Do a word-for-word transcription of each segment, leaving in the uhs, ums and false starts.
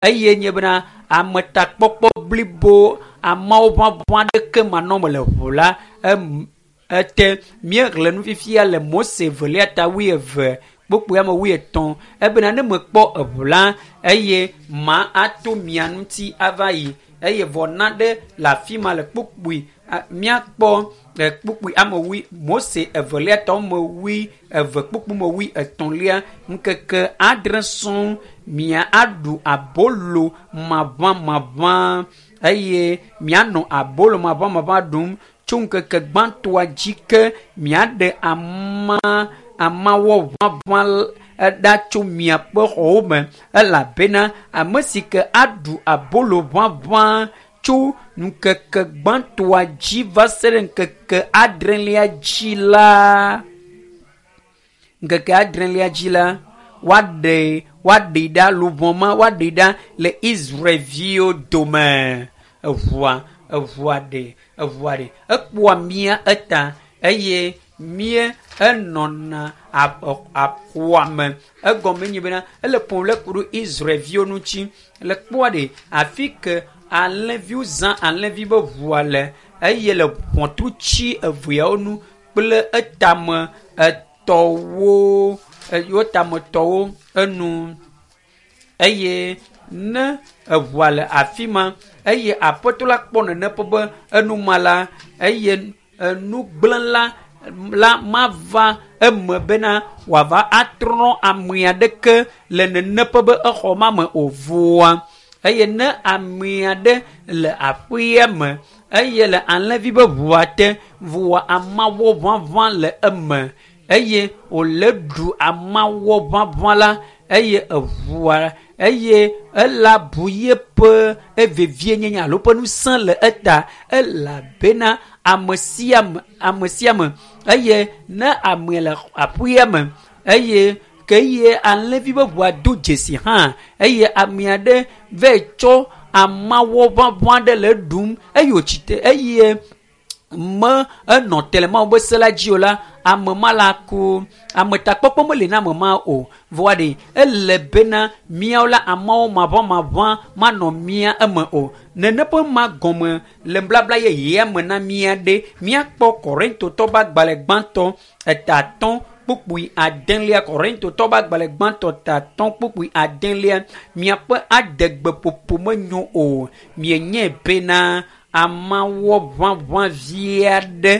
Eye nye bena ametakpɔkpɔ blibo amewo ʋaʋã ɖeke manɔme le ʋu la em ete míexlẽ nu fifia le Mose velia ta wuieve kpukpui ame wuietɔ̃ ebena ne mekpɔ eʋu la eye ma ato mia ŋuti ava yi eye vɔ na ɖe le afi ma le kpukpui míakpɔ le kpukpui ame wui Mose evelia ta ame wui eve kpukpui me wui etɔ̃lia ŋkeke adre sɔŋ mia aɖu abolo maʋamaʋã eye mianɔ abolo maʋamaʋã ɖum tso ŋkeke gbãtɔa dzi ke miaɖe ama amawɔ ʋaʋã ɖa tso miaƒe xɔwo me elabena ame si ke aɖu abolo ʋaʋã tso ŋkeke gbãtɔa dzi va se ɖe ŋkeke adrelia dzi la ŋkeke adrelia dzi la woaɖe woaɖee ɖa luʋɔ ma woaɖee ɖa le Israelviwo dome eʋua eʋua ɖe eʋua ɖe ekpɔa mía eta eye mía enɔna aƒua me egɔme nye bena ele ƒom le ku ɖe Israelviwo ŋuti le kpɔa ɖe afi ke alẽviwo zã alẽvi be ʋua le eye le ʋɔtrutsi eveawo nu kple etame etɔwo wo tametɔwo enu eye ne eʋua le afi ma eye aƒetɔ la kpɔ nene ƒe be enuma la eye enugblẽla la mava eme bena wòava atrɔ ame aɖeke le nene ƒe be exɔ ma me o vɔa eye ne ame aɖe le aƒea me eye le alẽvi be ʋua te vɔa amawɔ ʋaʋã le eme eye wòle ɖu amawɔ ʋaʋã la eye eʋua eye ela bu yeƒe evevienyenye alo ƒe ŋusẽ le eta elabena ame sia ame ame sia ame eye ne ame le aƒea me eye ke ye alẽvi be ʋua do dzesi hã eye ame aɖe va tsɔ amawɔ ʋaʋã ɖe le eɖum eye wòtsi te eye me enɔ te le Mawu be se la dzi o la ame ma la ku ametakpɔkpɔ meli na ame ma o vɔa ɖe ele bena míawo la amewo maʋamaʋã manɔ mía eme o nene ƒe ma gɔme le blabla yeyea me na mía ɖe míakpɔ Korintotɔ ƒe agbalẽ gbãtɔ eta atɔ̃ kpukpui adelia Korintotɔ ƒe agbalẽ gbãtɔ ta atɔ̃ kpukpui adelia miaƒe adegbeƒoƒo menyo o mienye bena amawɔ ʋaʋã vi aɖe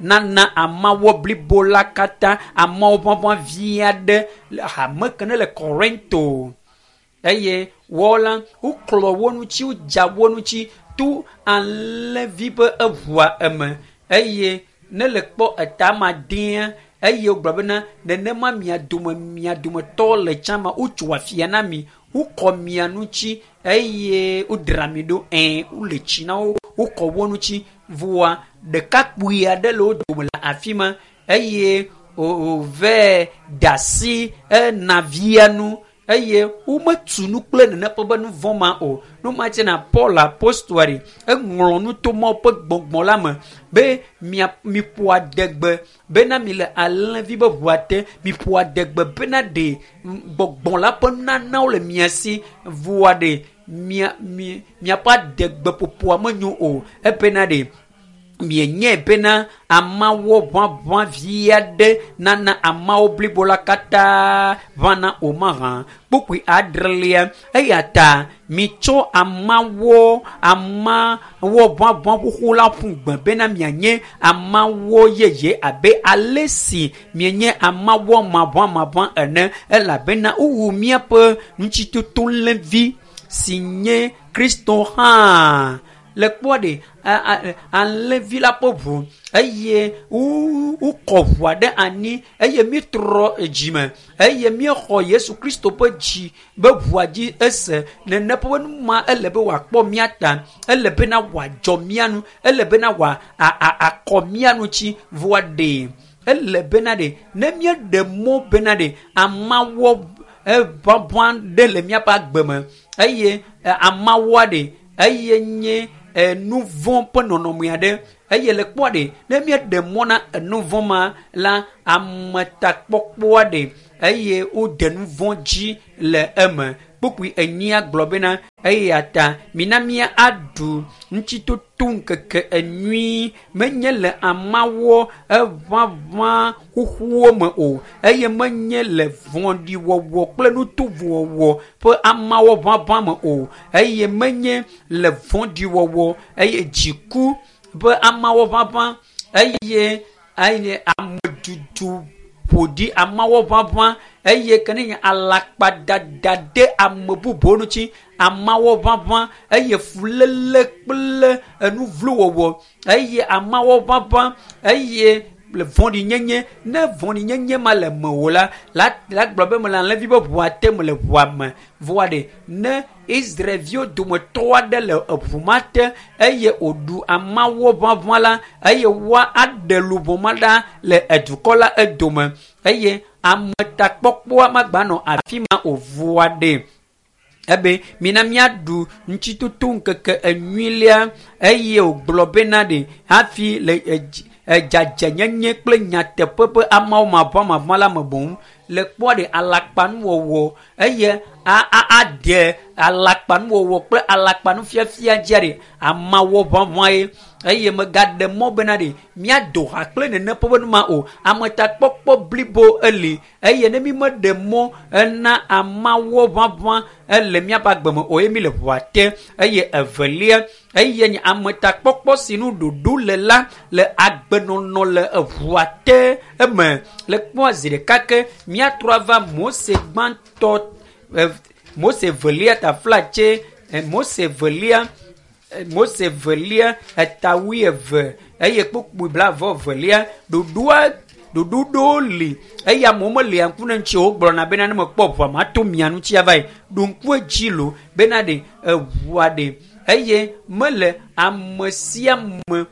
nana amawɔ blibo la katã amawɔ ʋaʋã vi aɖe le hame ke ne le Korinto eye wɔ la woklɔ wo ŋuti wodza wo ŋuti to alẽvi ƒe eʋua eme eye ne le kpɔ eta ma dea eye wogblɔ bena nenema mia dome mia dometɔ le tsã ma wotso afia na mi wokɔ mia ŋuti eye wodra mi ɖo ɛ wole tsi na wo wokɔ wo ŋuti vɔa ɖekakpui aɖe le wo dome le afi ma eye wòvɛ da asi enavia nu eye wometu nu kple nene ƒe be nu vɔ̃ ma o nu ma tse na Paul apostoa ɖe eŋlɔ nu to Mawu ƒe gbɔgbɔ la me be mia miƒo adegbe bena mi le alẽvi be ʋua te miƒo adegbe bena ɖe gbɔgbɔ la ƒe nunanawo le mia si vɔa ɖe mia mi miaƒe adegbeƒoƒoa menyo o ebena ɖe mienye bena amawɔ ʋaʋã vi aɖe nana amawo blibo la katã ʋãna o mahã kpukpui adrelia eya ta mitsɔ amawɔ amawɔ ʋaʋã xoxo la ƒu gbe bena mianye amawɔ yeye abe ale si mienye amawɔ maʋãmaʋã ene elabena wowu míaƒe ŋutitoto-lẽvi si nye Kristo hã le kpɔa ɖe alẽvi la ƒe ʋu eye wokɔ ʋua ɖe anyi eye míetrɔ dzime eye míexɔ Yesu Kristo ƒe dzi be ʋua dzi ese nene ƒe nu ma ele be wòakpɔ mía ta ele bena wòadzɔ mía nu ele bena wòa akɔ mía ŋuti vɔa ɖe ele bena ɖe ne míeɖe mɔ bena ɖe amawɔ eʋaʋã ɖe le míaƒe agbe me eye amawɔa ɖe eye nye nu vɔ̃ ƒe nɔnɔme aɖe eye le kpɔa ɖe ne míeɖe mɔ na enu vɔ̃ ma la ametakpɔkpɔa ɖe eye wode nu vɔ̃ dzi le eme kpukpui enyia gblɔ bena eya ta mina mía aɖu ŋutitoto ŋkeke enyui menye le amawɔ eʋaʋã xoxowo me o eye menye le vɔ̃ɖiwɔwɔ kple nutovowɔwɔ ƒe amawɔ ʋaʋã me o eye menye le vɔ̃ɖiwɔwɔ eye dziku ƒe amawɔ ʋaʋã eye eye amedudu ƒoɖi amawɔ ʋaʋã eye ke ne nye alakpadada ɖe ame bubuwo ŋuti amawɔ ʋaʋã eye fuléle kple enuvlowɔwɔ eye amawɔ ʋaʋã eye le vɔ̃ɖinyenye ne vɔ̃ɖinyenye ma le mewò la la la gblɔ be mele alẽvi be ʋua te mele ʋua me vɔa ɖe ne Israelviwo dometɔ aɖe le eʋu ma te eye wòɖu amawɔ ʋaʋã la eye woa aɖe luʋɔ ma ɖa le edukɔ la edome eye ametakpɔkpɔa magbanɔ afi ma o vɔa ɖe ebe mina míaɖu ŋutitoto ŋkeke enyuilia eye wògblɔ bena ɖe hafi le edzi edzadzenyenye kple nyateƒe ƒe amewo mavɔmavɔ la me boŋ le kpɔa ɖe alakpanuwɔwɔ eye a a aɖe alakpanuwɔwɔ kple alakpanufiafia dzia ɖe amawɔ ʋaʋã ye eye megaɖe mɔ bena ɖe míado ha kple nene ƒe nu ma o ametakpɔkpɔ blibo eli eye ne mi meɖe mɔ ena amawɔ ʋaʋã ele míaƒe agbe me o ye mi le ʋua te eye evelia eye nye ametakpɔkpɔ si nu ɖoɖo le la le agbenɔnɔ le eʋua te eme le kpɔa zi ɖeka ke míatrɔ ava Mose gbãtɔ Mose velia taflatse Mose velia Mose velia eta wuieve eye kpukpui blaeve velia ɖoɖoa ɖoɖo ɖewo li eye amewo melia ŋku ne ŋuti o wogblɔna bena ne mekpɔ ʋua mato mia ŋuti ava yi ɖo ŋku edzi lo bena ɖe eʋua ɖe eye mele ame sia ame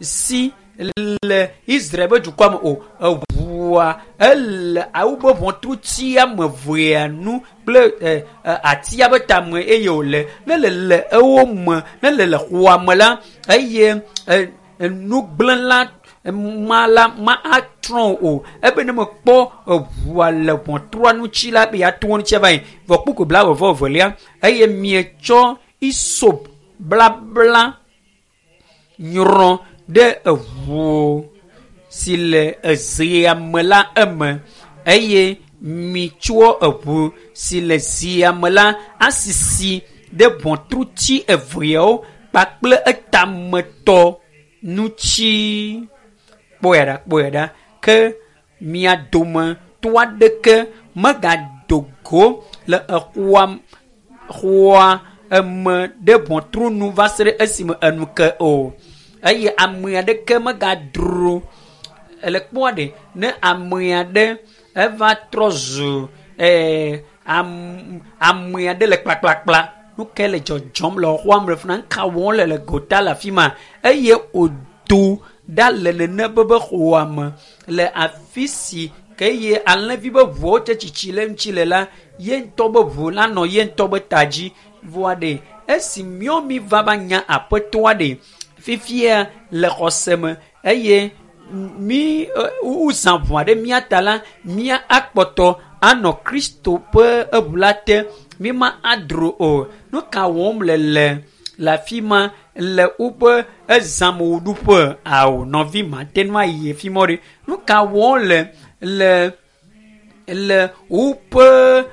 si le Israel ƒe dukɔa me o eʋua ele woƒe ʋɔtruti ame evea nu kple atia ƒe tame eye wòle ne le le ewo me ne le le xɔa me la eye nugblẽla ma la ma atrɔ o ebe ne mekpɔ eʋua le ʋɔtrua ŋuti la be yeato ŋuti ava yi vɔ kpukpui blaeve vɔ evelia eye mietsɔ isop blabla nyrɔ ɖe eʋu si le ezea me la eme eye mitsɔ eʋu si le zia me la asisi ɖe ʋɔtruti eveawo kpakple etametɔ ŋuti. Kpɔe ɖa kpɔe ɖa ke mia dometɔ aɖeke megado go le exɔa xɔa eme ɖe ʋɔtru nu va se ɖe esime enu ke o eye ame aɖeke megadro ele kpɔa ɖe ne ame aɖe eva trɔ zu ɛɛ am ame aɖe le kplakplakpla nu ke le dzɔdzɔm le xɔa me le fi na nu ka wɔm le le gota le afi ma eye wòdo ɖa le nene be be xɔa me le afi si ke eye alẽvi be ʋuawo tse tsitsi le ŋuti le la ye ŋutɔ be ʋu la nɔ ye ŋutɔ be ta dzi vɔa ɖe esi míawo mi va va nya aƒetɔa ɖe fifia le xɔse me eye mi wozã ʋua ɖe mía ta la mía akpɔtɔ anɔ Kristo ƒe eʋu la te mi ma adro o nu ka wɔm le le le afi ma le woƒe ezãmewɔɖuƒe ao nɔvi mate ŋu ayi afi ma ɖe nu ka wɔm le le le woƒe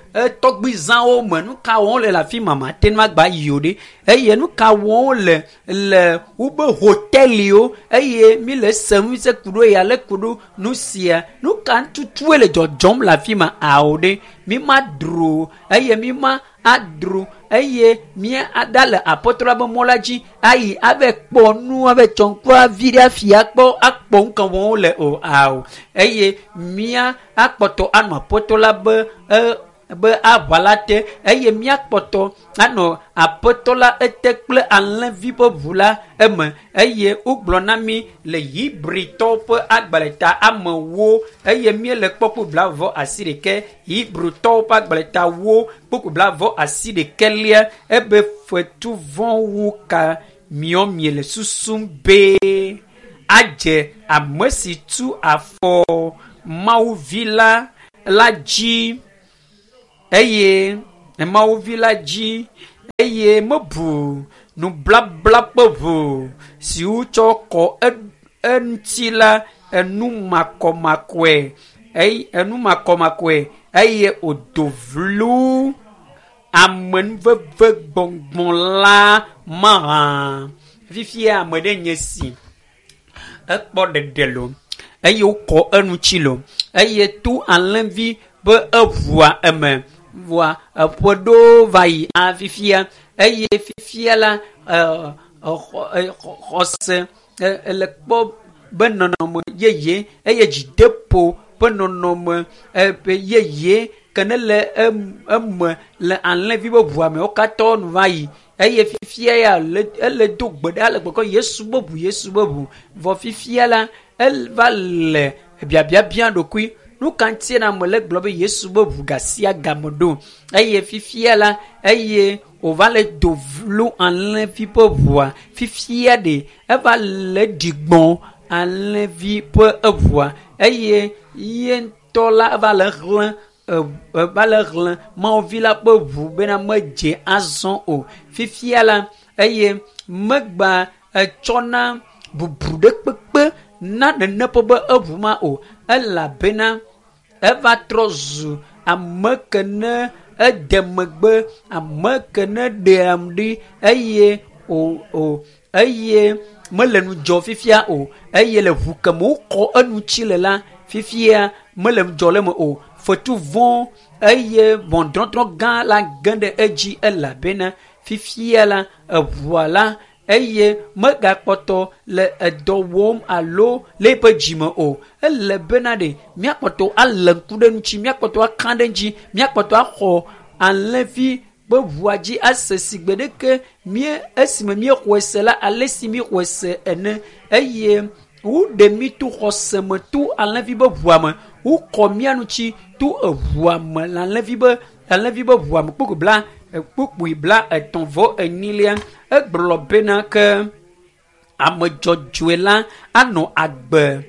tɔgbizãwo me nu ka wɔm le le afi ma mate ŋu agba yi o ɖe eye nu ka wɔm le le woƒe hoteliwo eye mi le esem se ku ɖo ya le ku ɖo nu sia nu ka tutue le dzɔdzɔm le afi ma ao ɖe mi ma dro eye mi ma adro eye mía aɖa le apɔtɔ la be mɔ la dzi ayi ave kpɔ nu ave tsɔ ŋku avi ɖe afia kpɔ akpɔ nu ka wɔm wole o ao eye mía akpɔtɔ anɔ apɔtɔ la be e be aʋa la te eye míakpɔtɔ anɔ aƒetɔ la ete kple alẽvi ƒe ʋu la eme eye wogblɔ na mí le Hebritɔwo ƒe agbalẽta amewo eye míele kpɔkpɔ blaeve asi ɖekɛ Hebritɔwo ƒe agbalẽta wo kpɔkpɔ blaeve asi ɖekɛlia ebe fetu vɔ̃wo ka miɔ miele susum be adze ame si tu afɔ Mawu vi la la dzi eye Mawu vi la dzi eye mebu nublabla ƒe ʋu si wotsɔ kɔ eŋuti la enu makɔmakɔe eye enu makɔmakɔe eye wòdo vlo amenuveve gbɔgbɔ la mahã. Fifia ame ɖe nye si ekpɔ ɖeɖe lo eye wokɔ eŋuti lo eye to alẽvi be eʋua eme vɔa eƒe ɖewo va yi fifia eye fifia la xɔse ele kpɔ be nɔnɔme yeye eye dzideƒo ƒe nɔnɔme yeye ke ne le eme le alẽvi be ʋua me wo katã nu va yi eye fifia ya ele do gbe ɖa le gbɔgblɔm Yesu be ʋu Yesu be ʋu vɔ fifia la eva le biabiabia ɖokui nu ka ŋutie na ame le gblɔ be Yesu be ʋu gasia game ɖo eye fifia la eye wòva le do vlo alẽvi ƒe ʋua fifia ɖe eva le ɖigbɔ alẽvi ƒe eʋua eye ye ŋutɔ la eva le xlẽ eva le xlẽ Mawu vi la ƒe ʋu bena medze azɔ o fifia la eye megba etsɔna bubu ɖe kpekpe na nene ƒe be eʋu ma o elabena eva trɔ zu ame ke ne ede megbe ame ke ne ɖeam ɖi eye o o eye mele nu dzɔ fifia o eye le ʋu ke me wokɔ eŋuti le la fifia mele nu dzɔ le eme o fetu vɔ̃ eye ʋɔnudɔdrɔ̃ gã la ge ɖe edzi elabena fifia la eʋua la eye megakpɔtɔ le edɔ wɔm alo le eƒe dzime o ele bena ɖe míakpɔtɔ alé ŋku ɖe ŋuti míakpɔtɔ aka ɖe ŋuti míakpɔtɔ axɔ alẽvi ƒe ʋua dzi ase si gbe ɖeke mía esime míexɔe se la ale si míexɔe se ene eye woɖe mí to xɔse me to alẽvi be ʋua me wokɔ mía ŋuti to eʋua me le alẽvi be alẽvi be ʋua me kpukpui bla kpukpui bla etɔ̃ vɔ enyilia egblɔ bena ke ame dzɔdzɔe la anɔ agbe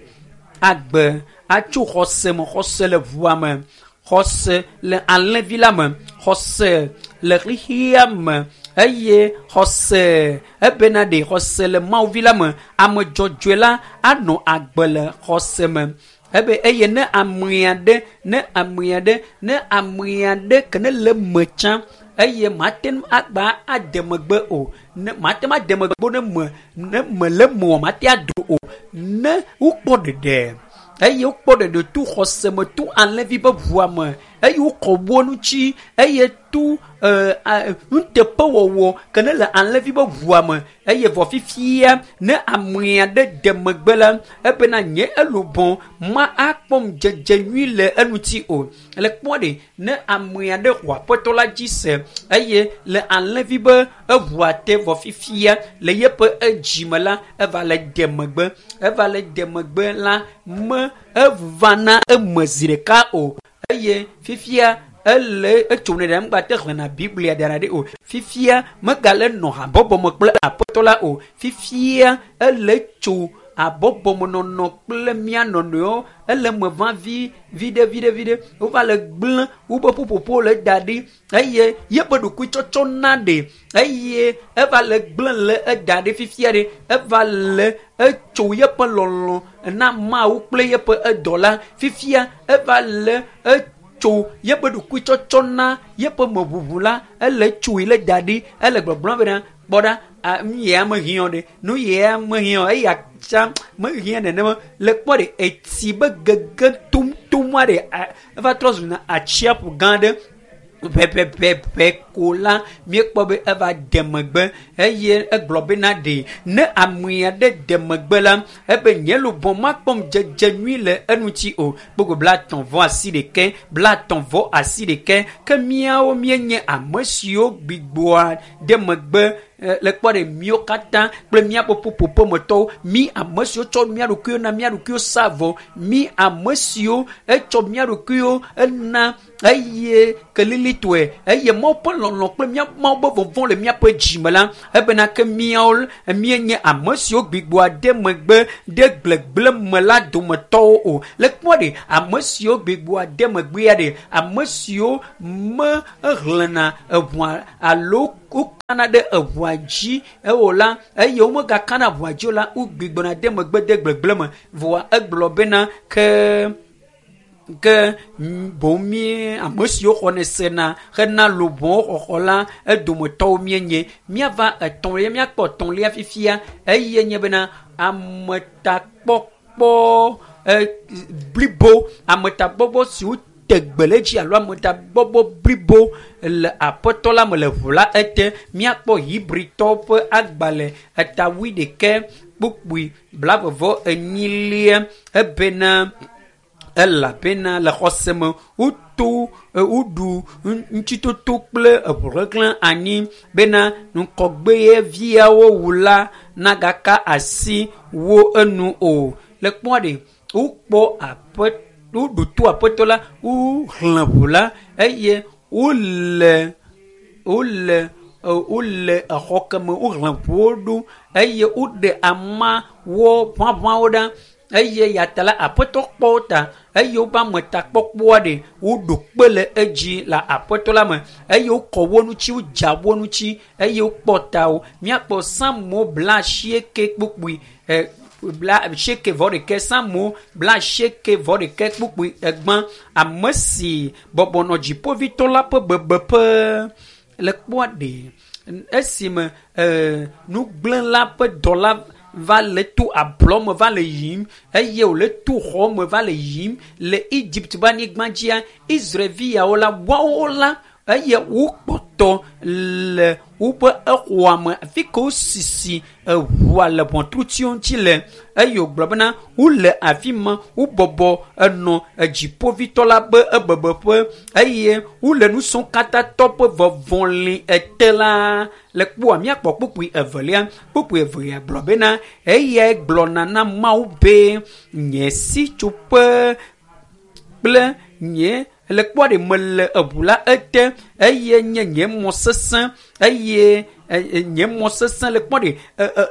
agbe atso xɔse me xɔse le ʋua me xɔse le alẽvi la me xɔse le xexea me eye xɔse ebena ɖe xɔse le Mawu vi la me ame dzɔdzɔe la anɔ agbe le xɔse me ebe eye ne amea ɖe ne amea ɖe ne amea ɖe ke ne le me tsã eye mate ŋu agba ade megbe o ne mate ŋu ade megbe ne me ne me le me o mate ado o ne wokpɔ ɖeɖe eye wokpɔ ɖeɖe to xɔse me to alẽvi be ʋua me eye wokɔ wo ŋuti eye to nuteƒewɔwɔ ke ne le alẽvi be ʋua me eye vɔ fifia ne amea ɖe de megbe la ebena nye elubɔ ma akpɔ ŋudzedze nyui le eŋuti o le kpɔ ɖe ne amea ɖe xɔ aƒetɔ la dzi se eye le alẽvi be eʋua te vɔ fifia le yeƒe edzime la eva le de megbe eva le de megbe la me eva na eme zi ɖeka o eye fifia ele etso ne ɖe ŋgba te xlẽna Biblia dana ɖi o fifia megale nɔ habɔbɔ me kple aƒetɔ la o fifia ele tso habɔbɔmenɔnɔ kple mía nɔnɔewo ele me va vi viɖe viɖe viɖe wova le gblẽ wobe ƒuƒoƒo le da ɖi eye yeƒe ɖokuitsɔtsɔ na ɖe eye eva le gblẽ le eda ɖi fifia ɖe eva le etso yeƒe lɔlɔ na Mawu kple yeƒe edɔ la fifia eva le etso yeƒe ɖokuitsɔtsɔ na yeƒe meʋuʋu la ele tsoe le da ɖi ele gbɔgblɔm bena kpɔ ɖa nu yia mehiã ɖe nu yia mehiã eya tsã mehiã nenema le kpɔ ɖe etsi be gege tomtom aɖe eva trɔ zuna atsiaƒu gã aɖe ʋɛʋɛʋɛ ko la míekpɔ be eva de megbe eye egblɔ bena ɖe ne amea ɖe de megbe la ebe nye lubɔ makpɔ ŋudzedze nyui le eŋuti o kpokpo blatɔ̃ vɔ asi ɖekɛ blatɔ̃ vɔ asi ɖekɛ ke míawo míenye ame siwo gbigbɔa de megbe le kpɔ ɖe míawo katã kple míaƒe ƒuƒoƒemetɔwo mí ame siwo tsɔ mía ɖokuiwo na mía ɖokuiwo sa vɔ mí ame siwo etsɔ mía ɖokuiwo ena eye kelilitɔe eye Mawu ƒe lɔlɔ kple mía Mawu be vɔvɔ̃ le míaƒe dzime la ebena ke míawo míenye ame siwo gbigbɔa ɖe megbe ɖe gblegble me la dometɔwo o. Le kpɔ ɖe ame siwo gbigbɔa ɖe megbea ɖe ame siwo mehlẽna eʋua alo wokana ɖe eʋua dzi ewò la eye womegakana ʋua dzi o la wogbigbɔna ɖe megbe de gblegble me. Vɔa egblɔ bena ke ke boŋ mí ame siwo xɔnɛ sena hena luʋɔwo xɔxɔ la edometɔwo míenye. Míava etɔ̃lia míakpɔ etɔ̃lia fifia eye nye bena ametakpɔkpɔ e blibo ametakpɔkpɔ siwo te gbe le edzi alo ametakpɔkpɔ blibo le aƒetɔ la me le ʋu la ete. Míakpɔ Hebritɔwo ƒe agbalẽ eta wuiɖekɛ kpukpui blavevɔ enyilia ebena elabena le xɔse me woto woɖu ŋutitoto kple eʋuhehlẽ anyi bena ŋkɔgbeviawo wu la nagaka asi wo enu o. Le kpɔa ɖe wokpɔ aƒe woɖo to aƒetɔ la wohlẽ ʋu la eye wole wole wole exɔ ke me wohlẽ ʋuwo ɖo eye woɖe ama wo ʋaʋãwo ɖa eye yata la aƒetɔ kpɔ wo ta eye woƒe ametakpɔkpɔa ɖe woɖo kpe le edzi le aƒetɔ la me eye wokɔ wo ŋuti wodza wo ŋuti eye wokpɔ ta wo. Míakpɔ Psalmo blaasieke kpukpui e blaasieke vɔ ɖekɛ Psalmo blaasieke vɔ ɖekɛ kpukpui egbã ame si bɔbɔ nɔ dziƒovitɔ la ƒe bebeƒe le kpɔa ɖe esime e nugblẽla ƒe dɔla va le to ablɔ me va le yiyim eye wòle to xɔ me va le yiyim le Egypt ƒe anyigba dzia Israelviawo la woawo la eye wokpɔtɔ le woƒe exɔa me afi ke wosisi eʋua le ʋɔtrutiwo ŋuti le eye wògblɔ bena wole afi ma wobɔbɔ enɔ edziƒovitɔ la ƒe ebebeƒe eye wole nusɔ̃ katã tɔ ƒe vɔvɔli ete la le kpɔa míakpɔ kpukpui evelia kpukpui evelia gblɔ bena eyae gblɔna na Mawu be nye sitsoƒe kple nye le kpɔa ɖe mele eʋu la ete eye nye nye mɔ sesẽ eye nye mɔ sesẽ le kpɔ ɖe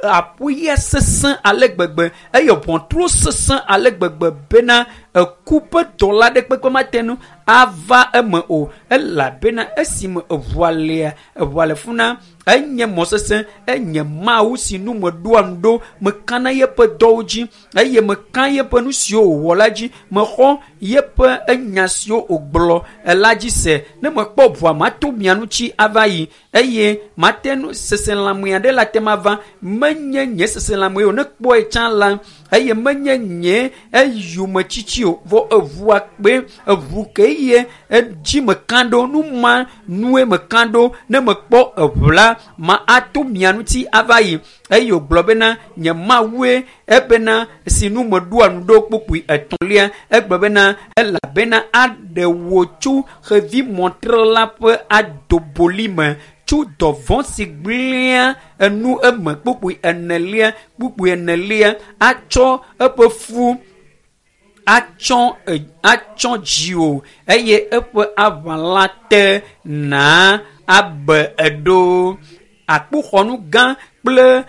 aƒuya sesẽ ale gbegbe eye ʋɔtruwo sesẽ ale gbegbe bena eku ƒe dɔla ɖe kpekpe mate ŋu ava eme o elabena esime eʋua lia eʋua le funa enye mɔ sesẽ enye Mawu si nu meɖoa nu ɖo mekana yeƒe dɔwo dzi eye meka yeƒe nu siwo wòwɔ la dzi mexɔ yeƒe enya siwo wògblɔ la dzi se ne mekpɔ ʋua mato mia ŋuti ava yi eye mate ŋu seselãme aɖe la te ma va menye nye seselãme o ne kpɔe tsã la eye menye nye eyometsitsi o vɔ eʋua kpe eʋu ke ye edzi meka ɖo nu ma nue meka ɖo ne mekpɔ eʋu la ma ato mia ŋuti ava yi eye wògblɔ bena nye Mawue ebena si nu meɖoa nu ɖo kpukpui etɔ̃lia egblɔ bena elabena aɖe wò tso xevi mɔtrela ƒe adoboli me tso dɔvɔ̃ si gblẽa enu eme kpukpui enelia kpukpui enelia atsɔ eƒe fu atsɔ atsɔ dziwò eye eƒe aʋala te na abe eɖo akpoxɔnu gã kple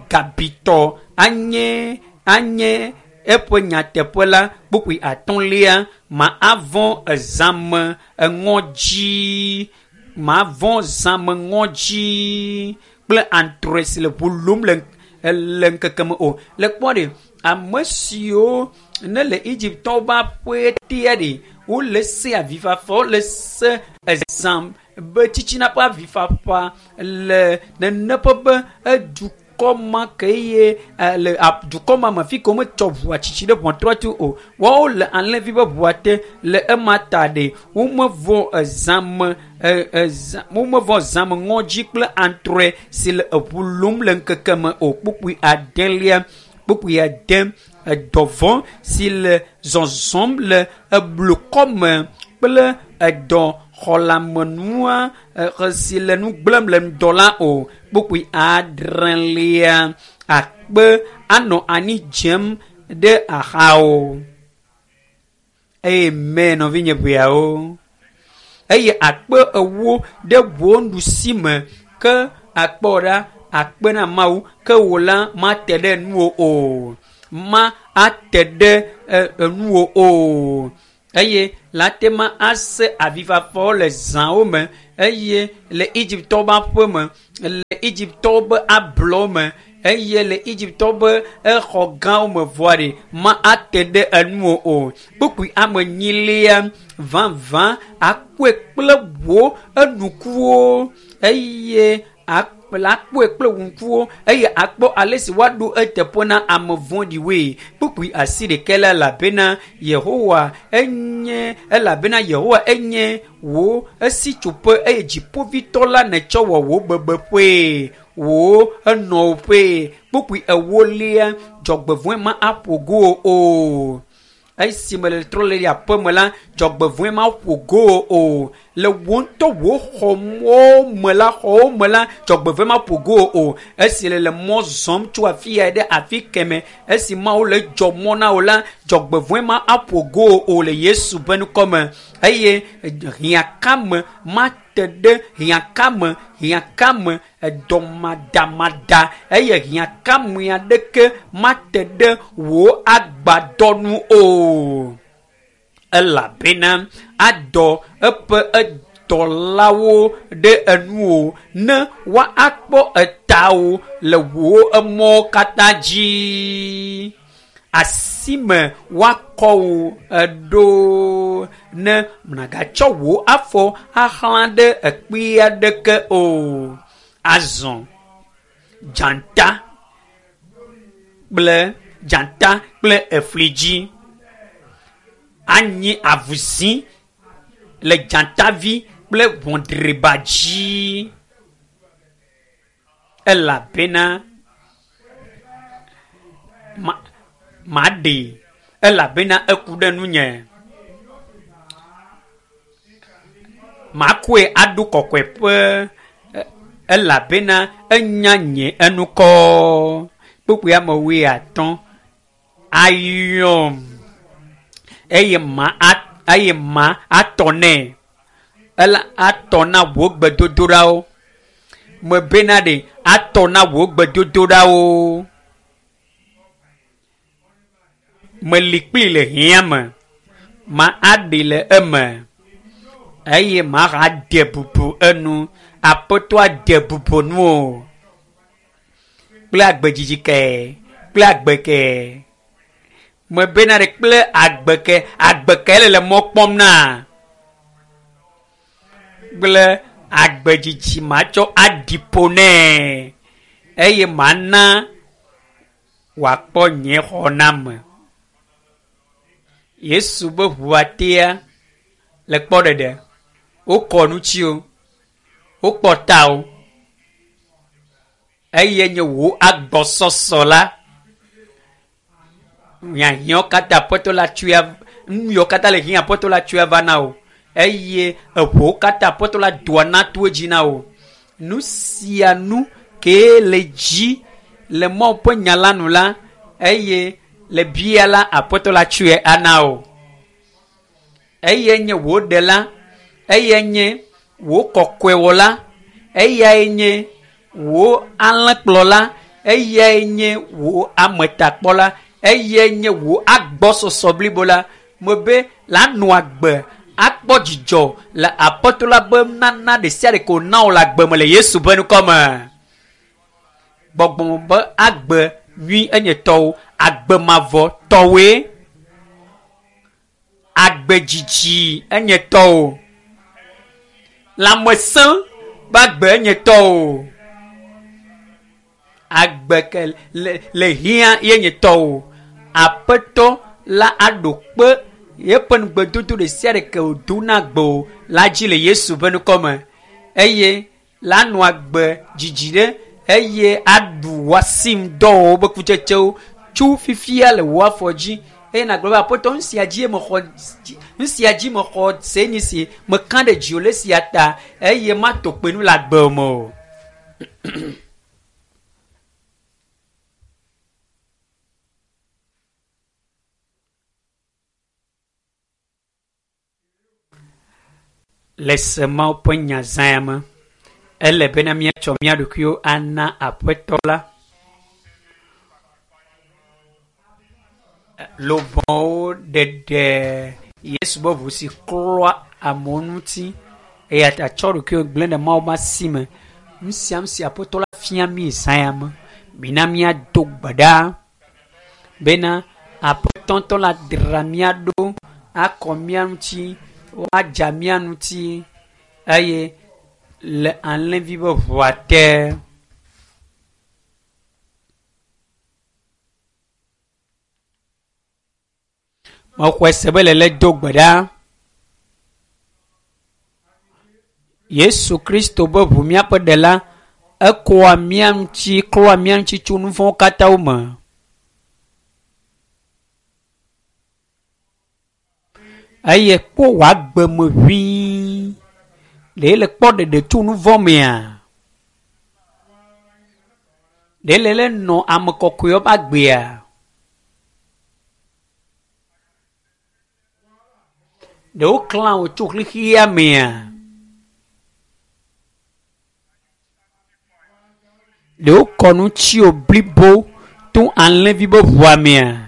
gabitɔ anye anye eƒe nyateƒe la kpukpui atɔ̃lia ma avɔ̃ ezãme eŋɔdzi ma vɔ̃ zãme ŋɔdzi kple antrɔe si le ʋu lum le le ŋkeke me o. Le kpɔ ɖe ame siwo ne le Egyptɔwo ƒe aƒe tea ɖe wole se avifafa wole se ezã be tsitsina ƒe avifafa le nene ƒe be edukɔ ma ke ye le dukɔ ma me fi ke wometsɔ ʋua tsitsi ɖe ʋɔtrua tu o woawo le alẽvi ƒe ʋua te le ema ta ɖe womevɔ ezãme ezã womevɔ zãme ŋɔdzi kple antrɔe si le eʋu lum le ŋkeke me o kpukpui adelia kpukpui ade edɔvɔ̃ si le zɔzɔm le eblukɔ me kple edɔ xɔlamenua si le nu gblẽm le ŋdɔ la o kpukpui adrelia akpe anɔ anyi dzem ɖe axawo. Amen nɔvinye ʋeawo. eye akpe ewo ɖe wò nuɖusi me ke akpɔ ɖa akpe na Mawu ke wò la mate ɖe nuwò o. Ma ate ɖe nuwò o. Eye la te ma ase avifafawo le zãwo me eye le Egiptɔwo ƒe aƒe me, le Egiptɔwo ƒe ablɔwo me eye le Egiptɔwo ƒe exɔ gãwo me vɔa ɖe ma ate ɖe enuwò o. Kpukpui ame enyilia vavã akpɔe kple wò enukuwo eye la kpɔe kple wò ŋkuwo eye akpɔ ale si woaɖo eteƒe na ame vɔ̃ɖiwoe. Kpukpui asi ɖeka la elabena Yehowa enye elabena Yehowa enye wò esitsoƒe eye dziƒovitɔ la netsɔ wɔ wò bebeƒee wò enɔƒee. Kpukpui ewolia dzɔgbevɔ̃e ma aƒo go o. Esi me le trɔ le aƒe me la dzɔgbevɔ̃e ma ƒo go o. Le wò ŋutɔ wò xɔwo me la xɔwo me la dzɔgbevɔ̃e ma ƒo go o. Esi le le mɔ zɔm tso afi ya ɖe afi keme esi Mawu le dzɔ mɔ na wò la dzɔgbevɔ̃e ma aƒo go o le Yesu ƒe ŋkɔ me. Eye hiãkame mate ɖe hiãkame hiãkame edɔmadamada eye hiãkame aɖeke mate ɖe wò agbadɔnu o. Elabena adɔ eƒe edɔlawo ɖe enuwò ne woakpɔ etawo le wò emɔwo katã dzi. Asime woakɔ wò eɖo ne nàgatsɔ wò afɔ axlã ɖe ekpe aɖeke o. Azɔ dzata kple dzata kple efli dzi anyi avuzi le dzatavi kple ʋɔdriba dzi elabena ma maɖee elabena eku ɖe nunye. Makɔe aɖo kɔkɔeƒe elabena enya nye enukɔ. Kpukpui ame wuiatɔ̃ ayɔm eye ma eye ma atɔ nɛ. Ela atɔ na wò gbedodoɖawo. Mebena ɖe atɔ na wò gbedodoɖawo. Meli kpli le hiã me. Ma aɖi le eme eye ma de bubu enu. Aƒetɔa de bubu nuwò kple agbedzidzi ke kple agbe ke. Mebena ɖe kple agbe ke agbe ke le le mɔ kpɔm na kple agbedzidzi matsɔ aɖi ƒo nɛ eye mana wòakpɔ nye xɔname. Yesu be ʋua tea le kpɔ ɖeɖe. Wokɔ ŋuti o, wokpɔ ta o eye nye wò agbɔsɔsɔ la hiahiãwo katã Aƒetɔ la tsoe nu yiwo katã le hiã Aƒetɔ la tsoe va na wò eye eʋuwo katã Aƒetɔ la doa na to edzi na wò. Nu sia nu kee le dzi le Mawu ƒe nya la nu la eye le bia la Aƒetɔ la tsoe ana wò. Eye nye wò ɖela, eye nye wò kɔkɔewɔla, eyae nye wò alẽkplɔla, eyae nye wò ametakpɔla, eyae nye wò agbɔsɔsɔ blibo la. Mebe la nɔ agbe akpɔ dzidzɔ le Aƒetɔ la be nana ɖe sia ɖe ko na wò le agbe me le Yesu ƒe ŋkɔ me. Gbɔgbɔ be agbe nyui enye tɔwo, agbe mavɔ tɔwoe. Agbe dzidzi enye tɔwo. Lãmesẽ be agbe enye tɔwo. Agbe ke le le hiã ye nye tɔwo. Aƒetɔ la aɖo kpe yeƒe ŋugbedodo ɖe sia ɖe ke wòdo na agbe la dzi le Yesu ƒe ŋkɔ me eye la nɔ agbe dzidzi ɖe eye aɖu wò asimdɔwɔwɔ ƒe kutsetsewo tso fifia le wò afɔ dzi eye nàgblɔ be Aƒetɔ nu sia dzi mexɔ nu sia dzi mexɔ se nyi si meka ɖe dziwò le esia ta eye mato kpe nu le agbe me o. Le se Mawu ƒe nya zã ya me, ele bena míatsɔ mía ɖokuiwo ana Aƒetɔ la. Luʋɔwo ɖeɖe Yesu ƒe ʋu si klɔa amewo ŋuti eya ta tsɔ ɖokuiwo gblẽ ɖe Mawu ƒe asi me. Nu sia nu si Aƒetɔ la fia mí zã ya me, mina míado gbe ɖa bena Aƒetɔ ŋutɔ la dzra mía ɖo akɔ mía ŋuti, woadza mía ŋuti eye le alẽvi ƒe ʋua te. Mexɔe se be le do gbe ɖa. Yesu Kristo be ʋu míaƒe ɖela, ekɔa mía ŋuti, klɔa mía ŋuti tso nu vɔ̃wo katã me. Eye kpɔ wò agbe me ʋĩi. Ɖe le kpɔ ɖeɖe tso nu vɔ̃ mea? Ɖe le le nɔ ame kɔkɔewo ƒe agbea? Ɖe woklã wò tso xexea mea? Ɖe wokɔ nu tsi wò blibo to alẽvi ƒe ʋua mea?